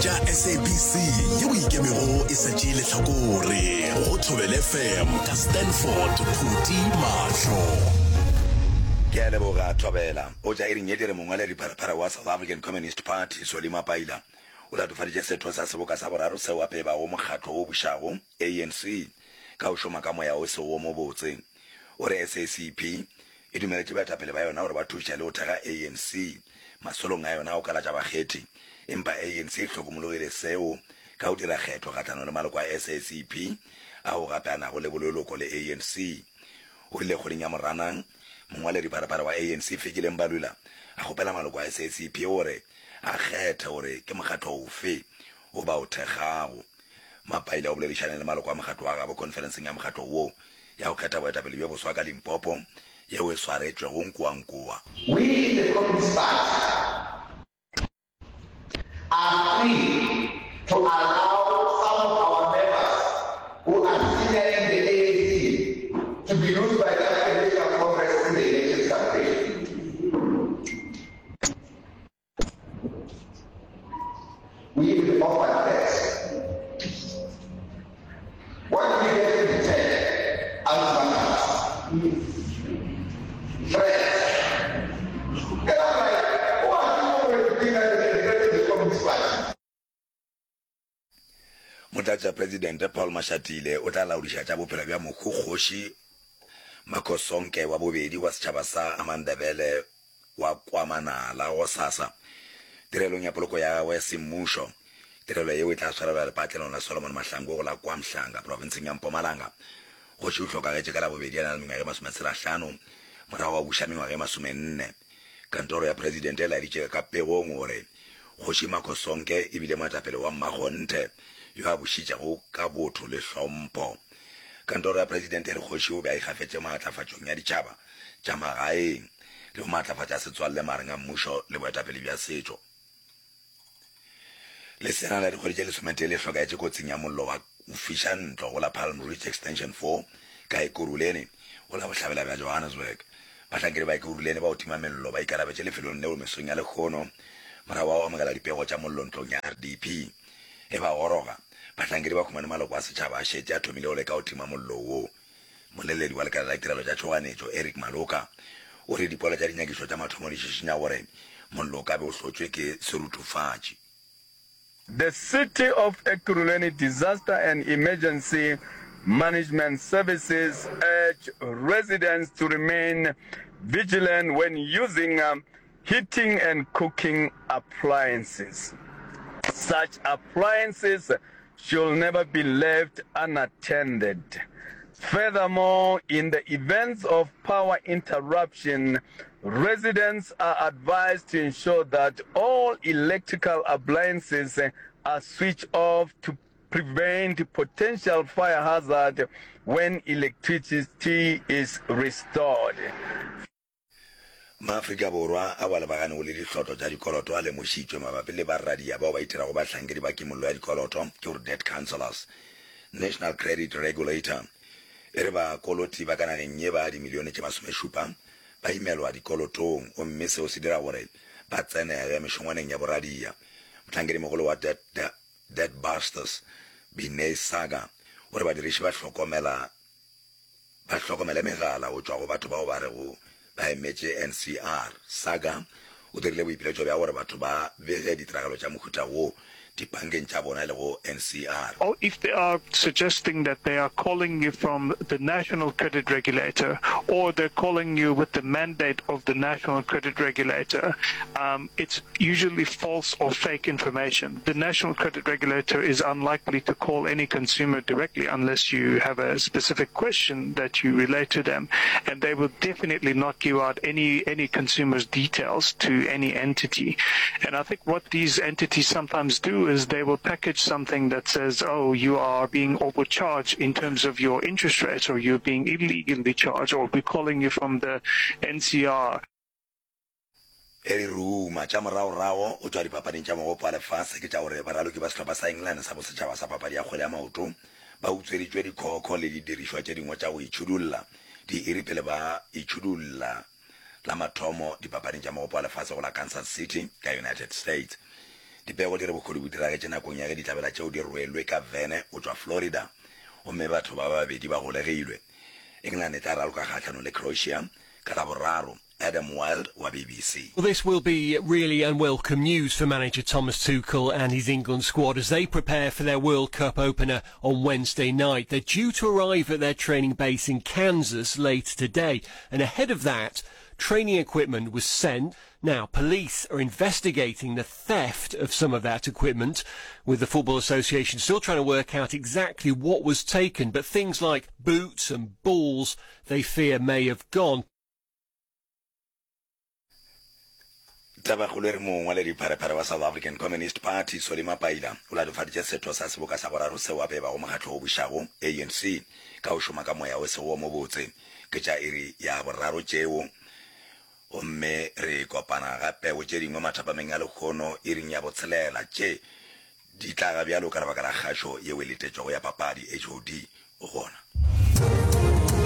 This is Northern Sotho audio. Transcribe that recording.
tša SABC yeo ikemego e sa tšee lehlakore go Thobela FM ka Stanford Phuti Mahlo. Ke a leboga Thobela. O tša iring ye dire mongwaledi pharephare wa South African Communist Party Solly Mapaila o latofaditše setho sa seboka sa boraro seo a pebago mokgatlo wo bušago ANC ka go šoma ka moya o sego wo mobotse. O re SACP e dumeletše baetapele ba yona gore ba thuše le go thekga ANC masolong a yona a go kalatša bakgethi, empa ANC e hlokomologile seo ka go dira kgetho kgahlanong le maloko a SACP ao gape a nago le boleloko le ANC. O rile kgweding ya Moranang, mongwaledipharephare wa ANC Fikile Mbalula a kgopela maloko a SACP gore a kgethe gore ke mokgatlo ofe wo ba o thekgago. Mapaila o boledišane le maloko a mokgatlo wa gabo khonferenseng ya mokgatlo wo ya go kgetha boetapele bjo boswa ka Limpopo yeo e swaretšwego Nkoankoa. We in the Communist Party are free to allow some of our members who are senior in the ANC to be used by the African National Congress in the elections campaign. We even offered that. What do we get in return? Ultimatums. Threats. And I'm like, who are you going to think that they can threaten the Communist Party? Motlatšapresidente Paul Mashatile o tla laodiša tša bophelo bja mohu Kgoši Makhosonke wa bobedi wa setšhaba sa Amandebele wa KwaManala gosasa tirelong ya poloko ya gagwe semmušo. Tirelo yeo e tla swarelwa lepatlelong la Solomon Mahlangu go la KwaMhlanga profenseng ya Mpumalanga. Kgoši o hlokagetše ka Labobedi a na le mengwaga e masometshelahlano morago ga go buša mengwaga e masomenne. Kantoro ya Presidente e laeditše ka pegong gore Kgoši Makhosonke e bile moetapele wa mmakgonthe yo a bušitšego ka botho le hlompho. Kantoro ya Presidente e re kgoši o be a ikgafetše maatlafatšong ya ditšhaba tša magaeng le go maatlafatša setswalle magareng a mmušo le boetapele bja setšo. Leseana la dikgwedi tše lesometee le hlokaetše kotsing ya mollo wa go fiša ntlo go la Palm Ridge Extension 4 ka Ekurhuleni go la bohlabela bja Johannesburg. Bahlankedi ba Ekurhuleni ba go tima mello ba ikarabetše lefelong leo mesong ya lehono morago ga go amogela dipego tša mollo ntlong ya RDP. Ge ba goroga, bahlankedi ba humane maloko a setšhaba a šetše a thomile go leka go tima mollo wo. Mmoleledi wa lekala la ditirelo tša tšhoganetšo, Eric Maloka, o re dipoelo tša dinyakišo tša mathomo di šišinya gore mollo o ka be o hlotšwe ke seruthufatši. The City of Ekurhuleni Disaster and Emergency Management Services urge residents to remain vigilant when using heating and cooking appliances. Such appliances should never be left unattended. Furthermore, in the events of power interruption, residents are advised to ensure that all electrical appliances are switched off to prevent potential fire hazard when electricity is restored. Maafrika Borwa ao a lebaganego le dihlotlo tša dikoloto a lemošitšwe mabapi le baradia bao ba itirago bahlankedi ba kimollo ya dikoloto, ke gore debt counsellors. National Credit Regulator e re bakoloti ba ka nageng ye ba dimilione tše masomešupa ba imelwa dikolotong gomme seo se dira gore ba tsenege mešongwaneng ya boradia. Mohlankedimogolo wa Debt, Debt Busters, Binay Saga, o re badiriši ba hlokomela Ba hlokomele megala go tšwa go batho bao ba rego ba emetše NCR. Saga o dirile boipiletšo bja gore batho ba bege ditiragalo tša mohuta wo dipankeng tša bona e lego NCR. Or if they are suggesting that they are calling you from the National Credit Regulator or they're calling you with the mandate of the National Credit Regulator, um, it's usually false or fake information. The National Credit Regulator is unlikely to call any consumer directly unless you have a specific question that you relate to them, and they will definitely not give out any any consumer's details to any entity. And I think what these entities sometimes do is they will package something that says, "Oh, you are being overcharged in terms of your interest rates, or you're being illegally charged, or we're calling you from the NCR." E re ruma tša moragorago go tšwa dipapading tša Mogopo wa Lefase ke tša gore baraloki ba sehlopha sa England sa bosetšhaba sa papadi ya kgwele ya maoto ba utsweditšwe dikhokho le didirišwa tše dingwe tša go itšhudulla diiri pele ba itšhudulla la mathomo dipapading tša Mogopo wa Lefase go la Kansas City ka United States. Dipego di re bohodu bo diragetše nakong ya ge ditlabela tšeo di rwelwe ka vene go tšwa Florida gomme batho ba babedi ba golegilwe. England e tla raloka kgahlanong le Croatia ka Laboraro. Adam Wild wa BBC. Well, this will be really unwelcome news for manager Thomas Tuchel and his England squad as they prepare for their World Cup opener on Wednesday night. They're due to arrive at their training base in Kansas later today, and ahead of that, training equipment was sent. Now, police are investigating the theft of some of that equipment, with the Football Association still trying to work out exactly what was taken, but things like boots and balls they fear may have gone. Tabakgolo e re mongwaledipharephare wa South African Communist Party Solly Mapaila o latofaditše setho sa seboka sa boraro seo a bebago mokgatlo o bušago ANC ka go šoma ka moya o sego wo mobotse. Ke tša iri ya boraro tšeo gomme re kopana gape go tše dingwe mathapameng a lehono iring ya botshelela. Tše di tla ga bjalo ka lebaka la kgašo yeo e letetšwego ya papadi HOD o gona.